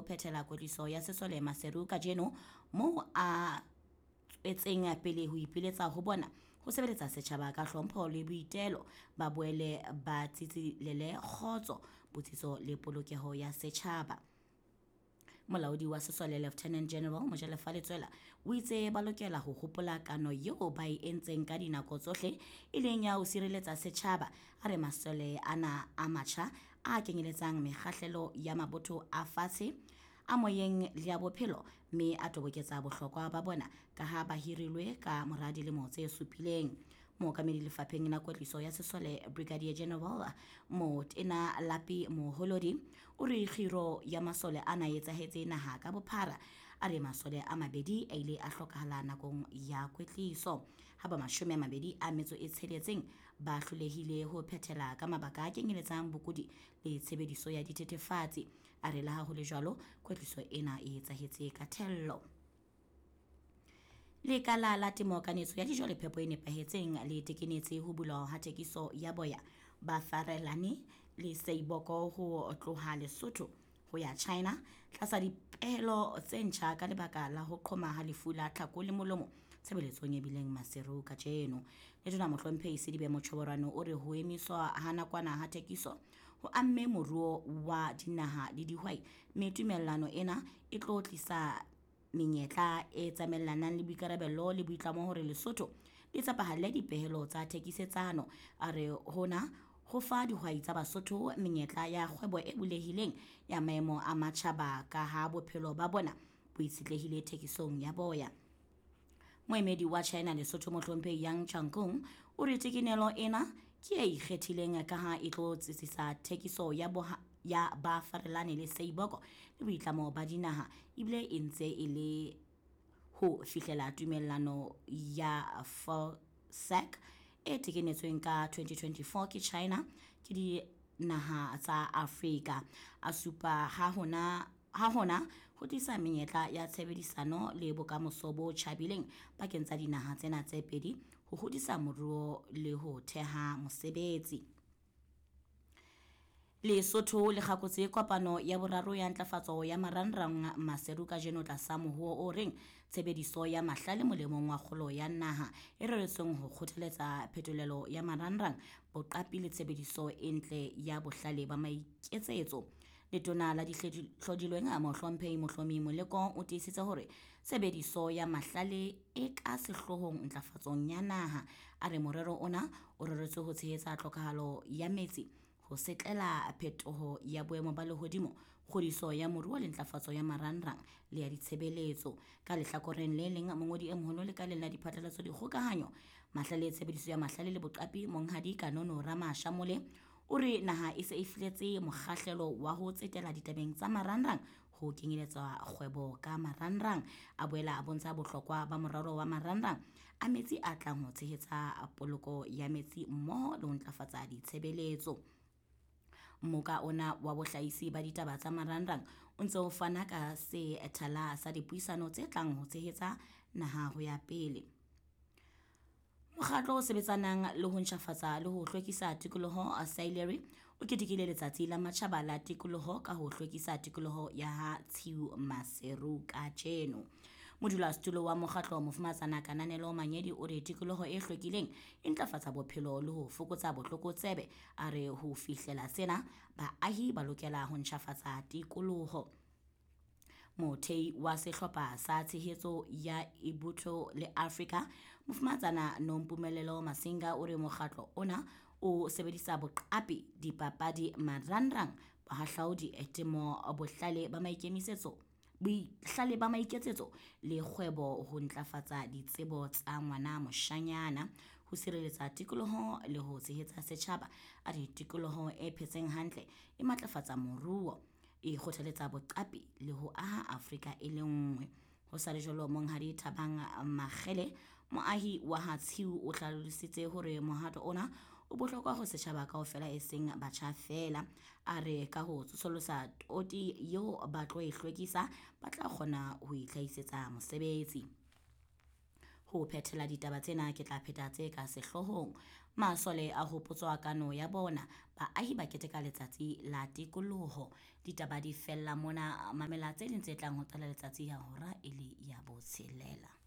phethela kwetliso ya sesole Maseru kajeno, moo a tswetseng pele ho ipiletsa ho bona ho sebeletsa setjhaba ka hlompho le boitelo, ba boele ba tsitsilele kgotso, botsitso le polokeho ya setjhaba. Molaodi wa sesole Lieutenant General Mojalefa Letsoela o itse ba lokela ho hopola kano eo ba e entseng ka dinako tsohle, e leng ya ho sireletsa setjhaba. A re masole ana a matjha a kenyeletsang mekgahlelo ya mabotho a fatshe, a moyeng le ya bophelo, mme a toboketsa bohlokwa ba bona ka ha ba hirilwe ka mora dilemo tse supileng. Mookamedi lefapheng la kwetliso ya sesole Brigadier General Motena Lapi Moholodi o re kgiro ya masole ana e etsahetse naha ka bophara. A re masole a mabedi a ile a hlokahala nakong ya kwetliso, ha ba 26 ba hlolehile ho phethela ka mabaka a kenyeletsang bokudi le tshebediso ya dithethefatsi. A re le ha ho le jwalo, kwetliso ena e etsahetse ka thello. Lekala la temo, kanetso ya dijo le phepo e nepahetseng le tekenetse ho bulwa ha thekiso ya boya ba Farelane le Seiboko ho tloha Lesotho ho ya China tlasa dipehelo tse ntjha ka lebaka la ho qhoma ha lefu la tlhako le molomo tshebeletsong e bileng Maseru kajeno. Letona Mohlomphehi Sedibe Mochoborano o re ho emiswa ha nakwana ha thekiso ho amme moruo wa dinaha le dihwai, mme tumellano ena e tlo tlisa menyetla e tsamaellanang le boikarabello le boitlamo hore Lesotho le tshepahalle dipehelo tsa thekisetsano. A re hona ho fa dihwai tsa Basotho menyetla ya kgwebo e bulehileng ya maemo a matjhaba ka ha bophelo ba bona bo itshetlehile thekisong ya boya. Moemedi wa China Lesotho Mohlomphehi Yang Changkung o re tekenelo ena ke e ikgethileng ka ha e tlo tsitsisa thekiso ya ya ba Farelane le Seiboko le boitlamo ba dinaha, ebile e ntse e le ho fihlela tumellano ya FOSAC e tekenetsweng ka 2024 ke China ke dinaha tsa Afrika. A supa ha hona ho tlisa menyetla ya tshebedisano le bokamoso bo tjhabileng pakeng tsa dinaha tsena tse pedi ho hodisa moruo le ho theha mosebetsi. Lesotho le kgakotse kopano ya boraro ya ntlafatso ya marangrang Maseru kajeno tlasa mohuo o reng tshebediso ya mahlale molemong wa kgolo ya naha, e reretsweng ho kgothaletsa phetolelo ya marangrang, boqapi le tshebediso e ntle ya bohlale ba maiketsetso. Letona la dihlodilweng Mohlomphehi Mohlomi Moleko o tiisitse hore tshebediso ya mahlale e ka sehloohong ntlafatsong ya naha. A re morero ona o reretswe ho tshehetsa tlhokahalo ya metsi, ho setlela phetoho ya boemo ba lehodimo, kgodiso ya moruo le ntlafatso ya marangrang le ya ditshebeletso. Ka lehlakoreng le leng, mongodi e moholo lekaleng la diphatlalatso, dikgokahanyo, mahlale, tshebediso ya mahlale le boqapi Monghadi Kanono Ramashamole o re naha e se e fihletse mokgahlelo wa ho tsetela ditabeng tsa marangrang ho kenyeletswa kgwebo ka marangrang. A boela a bontsha bohlokwa ba moralo wa marangrang a metsi a tlang ho tshehetsa poloko ya metsi mmoho le ho ntlafatsa ditshebeletso. Mmoka ona wa bohlahisi ba ditaba tsa marangrang o ntse o fana ka sethala sa dipuisano tse tlang ho tshehetsa naha ho ya pele. Mokgatlo o sebetsanang le ho ntjhafatsa le ho hlwekisa tikoloho Saileri o ketekile letsatsi la matjhaba la tikoloho ka ho hlwekisa tikoloho ya ha Tshiu Maseru kajeno. Modulasetulo wa mokgatlo Mofumahatsana Kananelo Manyedi o re tikoloho e hlwekileng e ntlafatsa bophelo le ho fokotsa botlokotsebe. A re ho fihlela sena baahi ba lokela ho ntjhafatsa tikoloho. Mothei wa sehlopha sa tshehetso ya Ibutho le Afrika Mofumahatsana Nompumelelo Masinga o re mokgatlo ona o sebedisa boqapi, dipapadi, marangrang, bohahlaudi, temo, bohlale ba maikemisetso, bohlale ba maiketsetso le kgwebo ho ntlafatsa ditsebo tsa ngwana moshanyana, ho sireletsa tikoloho le ho tshehetsa setjhaba. A re tikoloho e phetseng hantle e matlafatsa moruo, e kgothaletsa boqapi le ho aha Afrika e le nngwe. Ho sa le jwalo, Monghadi Thabang Makgele, moahi wa ha Tshiu, o hlalositse hore mohato ona o bohlokwa ho setjhaba kaofela e seng batjha feela. A re ka ho tsosolosa toti eo ba tlo e hlwekisa, ba tla kgona ho itlhahisetsa mosebetsi. Ho phethela ditaba tsena ke tla pheta tse ka sehloohong. Masole a hopotswa kano ya bona. Baahi ba keteka letsatsi la tikoloho. Ditaba di fella mona. Mamela tse ding tse tlang ho qala letsatsi ya hora e le ya botshelela.